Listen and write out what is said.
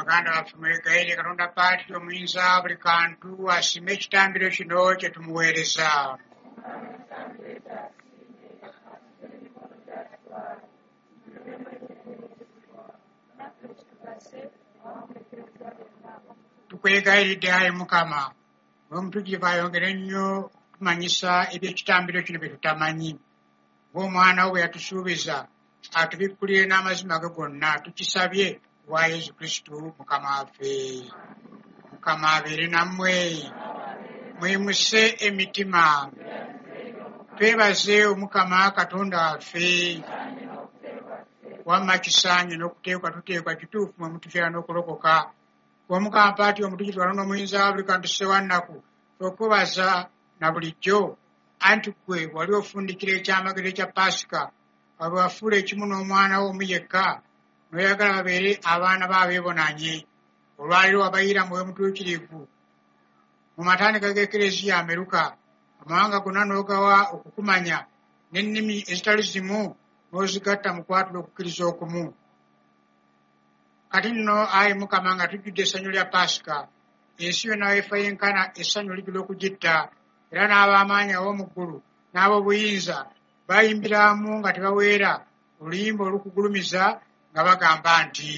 Baganda baffe, mwegayirire Katonda Paatiri omuyinza buli kantu asiime ekitambiro kino kye tumuweereza. Tukwegayiridde, ayi Mukama, Omwoyo Omutuukirivu ayongere nnyo okutumanyisa eby'ekitambiro kino bye tutamanyi. Ng'omwana wo bwe yatusuubiza, atubikkulire n'amazima ge gonna. Tukisabye ku bwa Yesu Kristu Mukama waffe. Mukama abeere nammwe. Mwimuse emitima. Twebaze Omukama Katonda waffe. Wamma kisaanye n'okuteekwa tuteekwa kituufu mwe mutufiira n'okulokoka. Omukama Paatiri Omutuukirivu Katonda omuyinza wa buli kantu Ssewannaku, okwebaza na bulijjo, anti ggwe wali ofundikira ekyamagero ekya Paasika, awo bwe wafuula ekimu n'omwana wo omu yekka, n'oyagala babeere abaana bo abeebonanye. Olwaleero wabayiira Mwoyo Mutuukirivu mu matandika g'Ekereziya ameruka, amawanga gonna n'ogawa okukumanya, n'ennimi ezitali zimu n'ozigatta mu kwatula okukkiriza okumu. Kati nno, ayi Mukama, nga tujjudde essanyu lya Paasika, ensi yonna weefa yenkana essanyu lijjula okugitta, era n'ab'amaanyi ab'omu ggulu n'ab'obuyinza bayimbira wamu nga tebaweera oluyimba olukugulumiza nga bagamba nti.